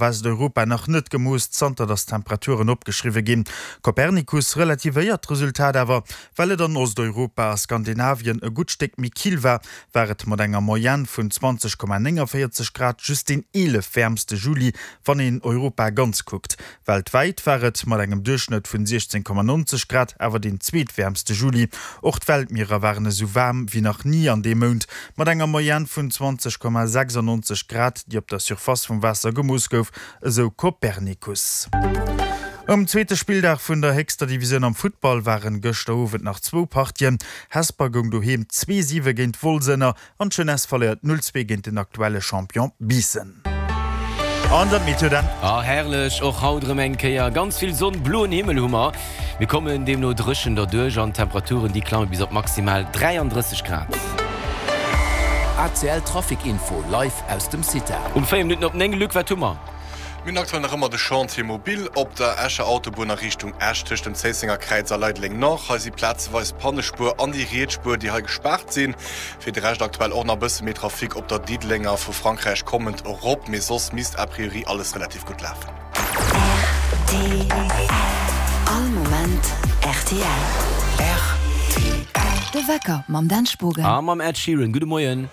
Westeuropa nach net gemooss, zanter datt d'Temperaturen opgeschriwwe ginn. Copernicus relativéiert d'Resultat awer, well et an Osteuropa a Skandinavien e gutt Stéck méi kill war, war et mat enger Moyenne vun 20,49 Grad just deen 11 wäermste Juli, wann een Europa ganz kuckt. Weltwäit war et mat engem Duerchschnëtt vun 16,90 Grad awer deen zweetwäermste Juli. Och d'Weltmierer waren esou waarm wéi nach ni an deem Mount, mat enger Moyenne vun 20,96 Grad, déi op der Surface vum Waasser gemooss gouf, esou Copernicus. Um zweete Spilldag vun der héchster Divisioun am Futtball waren gëschter Owend nach zwou Partien. Hesper goung doheem 2, 7 géint Wolz ënner An d'Jeunesse verléiert 0, 2 géint den aktuelle Champion Biissen. An dat Meteo dann. Ah herrlech, och haut erëm eng Kéier ganz vill Sonn, bloen Himmel hu mer. Mir kommen deemno dréchen derduerch an d'Temperaturen déi klamme bis op maximal 33 Grad. ACL Trafic Info live aus dem CITA. Um 4 Minutten op 9, Luc, wat hu mer? Mir hunn aktuell nach ëmmer de Chantier mobile op der Escher Autobunn a Richtung Esch tëscht dem Zéissenger Kräiz a Leideleng Nord. Hei si plazeweis d'Pannespuer an déi riets Spuer, déi hei gespaart sinn. Fir de Rescht aktuell och nach e bësse méi Trafic op der Diddelenger vu Frankräich kommend erop, mee soss misst a priori alles relativ gutt lafen. Rtl, All Moment rtl. De Wecker mam Dan Spogen. A mam Ed Sheeran. Gudde Moien.